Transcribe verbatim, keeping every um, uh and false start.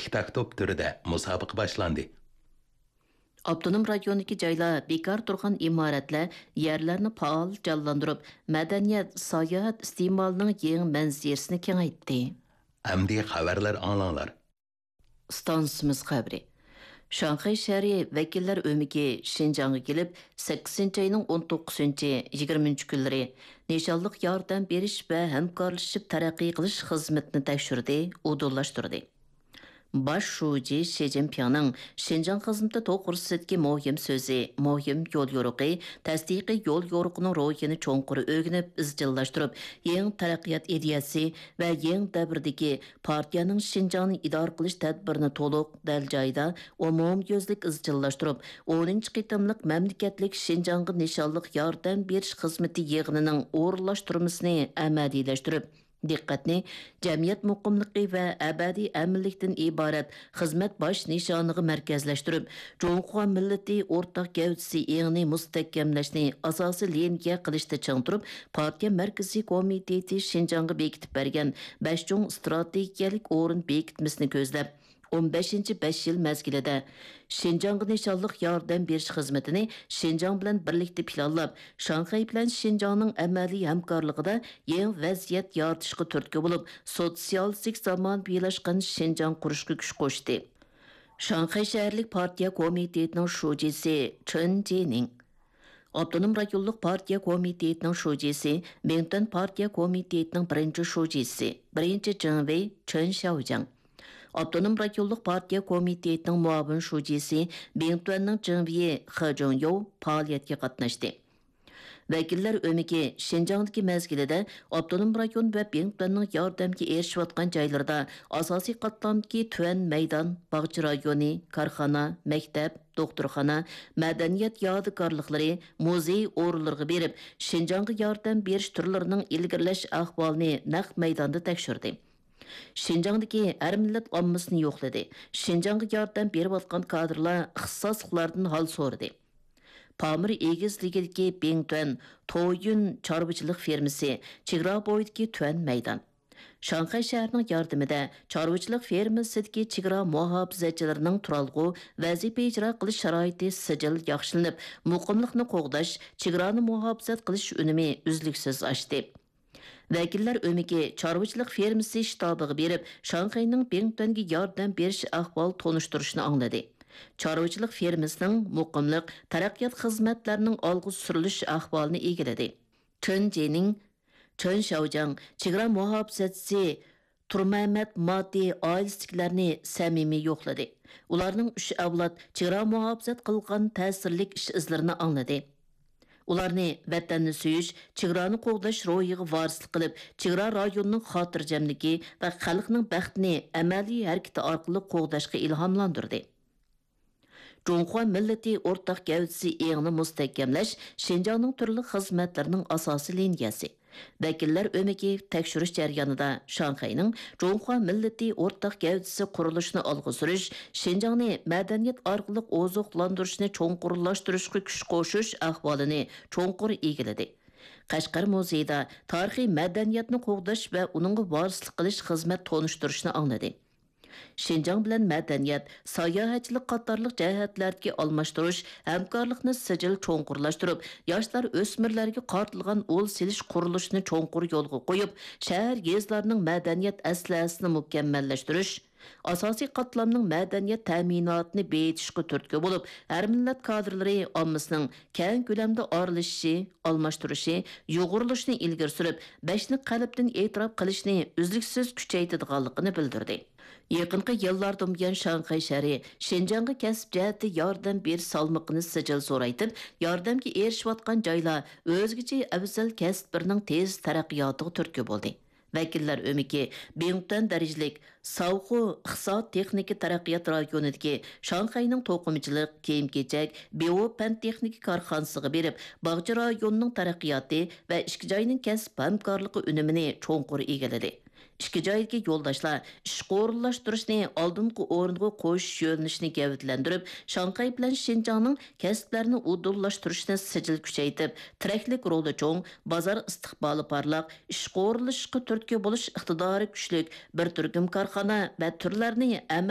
ئىككى تاك توپ تۈرىدە مۇسابىقە باشلاندى. ئاپتونوم رايوندىكى جايلار بىكار تۇرغان ئىمارەتلەر، يەرلەرنى پائال جانلاندۇرۇپ، مەدەنىيەت، ساياھەت ئىستېمالىنىڭ يېڭى مەنزىرىسىنى كېڭەيتتى. ئەمدى خەۋەرلەر ئاڭلاڭلار. ئىستانسىمىز خەۋىرى. شاڭخەي شەھىرى ۋەكىللەر ئۆمىكى شىنجاڭغا كېلىپ، سەككىزىنچى ئاينىڭ ئون توققۇزىنچى، يىگىرمىنچى كۈنلىرى نىشانلىق ياردەم بېرىش ۋە ھەمكارلىشىپ تەرەققىي قىلىش خىزمىتىنى تەكشۈردى، ئۇدۇللاشتۇردى. باش شۇجى شى جىنپىڭنىڭ شىنجاڭ خىزمىتى توغرىسىدىكى مۇھىم سۆزى، مۇھىم يوليورۇقى، تەستىقىي يوليورۇقىنىڭ روھىنى چوڭقۇر ئۆگىنىپ، ئىزچىللاشتۇرۇپ، يېڭى تەرەققىيات ئىدىيەسى ۋە يېڭى دەۋردىكى پارتىيەنىڭ شىنجاڭنى ئىدارە قىلىش تەدبىرىنى تولۇق، دەل جايىدا، ئومۇميۈزلۈك ئىزچىللاشتۇرۇپ، ئونىنچى قېتىملىق مەملىكەتلىك شىنجاڭغا نىشانلىق ياردەم بېرىش خىزمىتى يىغىنىنىڭ ئورۇنلاشتۇرمىسىنى ئەمەلىيلەشتۈرۈپ، دىققەتنى جەمئىيەت مۇقىملىقى ۋە ئەبەدىي ئەمىنلىكتىن ئىبارەت خىزمەت باش نىشانىغا مەركەزلەشتۈرۈپ، جۇڭخۇا مىللىتى ئورتاق گەۋدىسى ئېڭىنى مۇستەھكەملەشنى ئاساسىي لىنىيە قىلىشتا چىڭ تۇرۇپ، پارتىيە مەركىزىي كومىتېتى شىنجاڭغا بېكىتىپ بەرگەن بەش چوڭ ئىستراتېگىيەلىك ئورۇن بېكىتمىسىنى كۆزلەپ، ئون بەشىنچى بەش يىل مەزگىلىدە شىنجاڭغا نىشانلىق ياردەم بېرىش خىزمىتىنى شىنجاڭ بىلەن بىرلىكتە پىلانلاپ، شاڭخەي بىلەن شىنجاڭنىڭ ئەمەلىي ھەمكارلىقىدا يېڭى ۋەزىيەت يارىتىشقا تۈرتكە بولۇپ، سوتسىيالىستىك زامانىۋىلاشقان شىنجاڭ قۇرۇشقا كۈچ قوشتى. شاڭخەي شەھەرلىك پارتىيە كومىتېتىنىڭ شۇجىسى چېن جىنىڭ، ئاپتونوم رايونلۇق پارتىيە كومىتېتىنىڭ شۇجىسى، بىڭتۈەن پارتىيە كومىتېتىنىڭ بىرىنچى شۇجىسى، بىرىنچى جىڭۋېي چېن شياۋجياڭ، ئاپتونوم رايونلۇق پارتىيە كومىتېتىنىڭ مۇئاۋىن شۇجىسى، بىڭتۈەننىڭ جىڭۋېيى خې جۇڭيوۋ پائالىيەتكە قاتناشتى. ۋەكىللەر ئۆمىكى شىنجاڭدىكى مەزگىلىدە ئاپتونوم رايون ۋە بىڭتۈەننىڭ ياردەمگە ئېرىشىۋاتقان جايلىرىدا ئاساسىي قاتلامدىكى تۆۋەن مەيدان، باغچە رايونى، كارخانا، مەكتەپ، دوختۇرخانا، مەدەنىيەت يادىكارلىقلىرى، مۇزېي ئورۇنلىرىغا بېرىپ، شىنجاڭغا ياردەم بېرىش تۈرلىرىنىڭ ئىلگىرىلەش ئەھۋالىنى نەق مەيداندا تەكشۈردى. شىنجاڭدىكى ھەر مىللەت ئاممىسىنى يوقلىدى. شىنجاڭغا ياردەم بېرىۋاتقان كادىرلار ئىختىساسلىقلاردىن ھال سورىدى. پامىر ئېگىزلىكىدىكى بىڭتۈەن تويۈن چارۋىچىلىق فېرمىسى، چېگرا بويىدىكى تۆۋەن مەيدان. شاڭخەي شەھىرىنىڭ ياردىمىدە چارۋىچىلىق فېرمىسىدىكى چېگرا مۇھاپىزەتچىلىرىنىڭ تۇرالغۇ، ۋەزىپە ئىجرا قىلىش شارائىتى سىجىل ياخشىلىنىپ، مۇقىملىقنى قوغداش، چېگرانى مۇھاپىزەت قىلىش ئۈنۈمى ئۈزلۈكسىز ئاشتى. ۋەكىللەر ئۆمىكى چارۋىچىلىق فېرمىسى شتابىغا بېرىپ، شاڭخەينىڭ بىڭتۈەنگە ياردەم بېرىش ئەھۋال تونۇشتۇرۇشىنى ئاڭلىدى. چارۋىچىلىق فېرمىسىنىڭ مۇقىملىق، تەرەققىيات خىزمەتلەرنىڭ ئالغا سۈرۈلۈش ئەھۋالىنى ئىگىلىدى. چېن جىنىڭ، چېن شياۋجياڭ، چېگرا مۇھاپىزەتچىسى تۇرمەمەت ماتى ئائىلىسىدىكىلەرنى سەمىمىي يوقلىدى. ئۇلارنىڭ ئۈچ ئەۋلاد چېگرا مۇھاپىزەت قىلغان تەسىرلىك ئىش-ئىزلىرىنى ئاڭلىدى. ئۇلارنى ۋەتەننى سۆيۈش، چېگرانى قوغداش روھىغا ۋارىسلىق قىلىپ، چېگرا رايونىنىڭ خاتىرجەملىكى ۋە خەلقنىڭ بەختىنى ئەمەلىي ھەرىكىتى ئارقىلىق قوغداشقا ئىلھاملاندۇردى. جۇڭخۇا مىللىتى ئورتاق گەۋدىسى ئېڭىنى مۇستەھكەملەش شىنجاڭنىڭ تۈرلۈك خىزمەتلىرىنىڭ ئاساسىي لىنىيەسى. ۋەكىللەر ئۆمىكى تەكشۈرۈش جەريانىدا شاڭخەينىڭ جۇڭخۇا مىللىتى ئورتاق گەۋدىسى قۇرۇلۇشىنى ئالغا سۈرۈش، شىنجاڭنى مەدەنىيەت ئارقىلىق ئوزۇقلاندۇرۇشنى چوڭقۇرلاشتۇرۇشقا كۈچ قوشۇش ئەھۋالىنى چوڭقۇر ئىگىلىدى. قەشقەر مۇزېيىدا تارىخىي مەدەنىيەتنى قوغداش ۋە ئۇنىڭغا ۋارىسلىق قىلىش خىزمەت تونۇشتۇرۇشنى ئاڭلىدى. شىنجاڭ بىلەن مەدەنىيەت، ساياھەتچىلىك قاتارلىق جەھەتلەردىكى ئالماشتۇرۇش، ھەمكارلىقنى سىجىل چوڭقۇرلاشتۇرۇپ، ياشلار، ئۆسمۈرلەرگە قارىتىلغان ئۇل سېلىش قۇرۇلۇشىنى چوڭقۇر يولغا قويۇپ، شەھەر، يېزىلارنىڭ مەدەنىيەت ئەسلىھەسىنى مۇكەممەللەشتۈرۈش، ئاساسىي قاتلامنىڭ مەدەنىيەت تەمىناتىنى بېيىتىشقا تۈرتكە بولۇپ، ھەر مىللەت كادىرلىرى ئاممىسىنىڭ كەڭ كۆلەمدە ئارىلىشىشى، ئالماشتۇرۇشى، يۇغۇرۇلۇشىنى ئىلگىرى سۈرۈپ، بەشنى قەلبتىن ئېتىراپ قىلىشنى ئۈزلۈكسىز كۈچەيتىدىغانلىقىنى بىلدۈردى. يېقىنقى يىللاردىن بۇيان، شاڭخەي شەھىرى شىنجاڭغا كەسىپ جەھەتتە ياردەم بېرىش سالمىقىنى سىجىل زورايتىپ، ياردەمگە ئېرىشىۋاتقان جايلار ئۆزگىچە ئەۋزەل كەسىپلىرىنىڭ تېز تەرەققىياتىغا تۈرتكە بولدى. ۋەكىللەر ئۆمىكى بىڭتۈەن دەرىجىلىك ساۋخۇ ئىقتىساد-تېخنىكا تەرەققىيات رايونىدىكى شاڭخەينىڭ توقۇمىچىلىق، كىيىم-كېچەك، بىۋو پەن-تېخنىكا كارخانىسىغا بېرىپ، باغچە رايونىنىڭ تەرەققىياتى ۋە ئىككى جاينىڭ كەسىپ ھەمكارلىقى ئۈنۈمىنى چوڭقۇر ئىگىلىدى. ئىككى جايدىكى يولداشلار ئىشقا ئورۇنلاشتۇرۇشنى ئالدىنقى ئورۇنغا قويۇش يۆنىلىشىنى گەۋدىلەندۈرۈپ، شاڭخەي بىلەن شىنجاڭنىڭ كەسىپلەرنى ئۇدۇللاشتۇرۇشنى سىجىل كۈچەيتىپ، تىرەكلىك رولى چوڭ، بازار ئىستىقبالى پارلاق، ئىشقا ئورۇنلىشىشقا تۈرتكە بولۇش ئىقتىدارى كۈچلۈك بىر تۈركۈم كارخانا ۋە تۈرلەرنى ئەمەلىي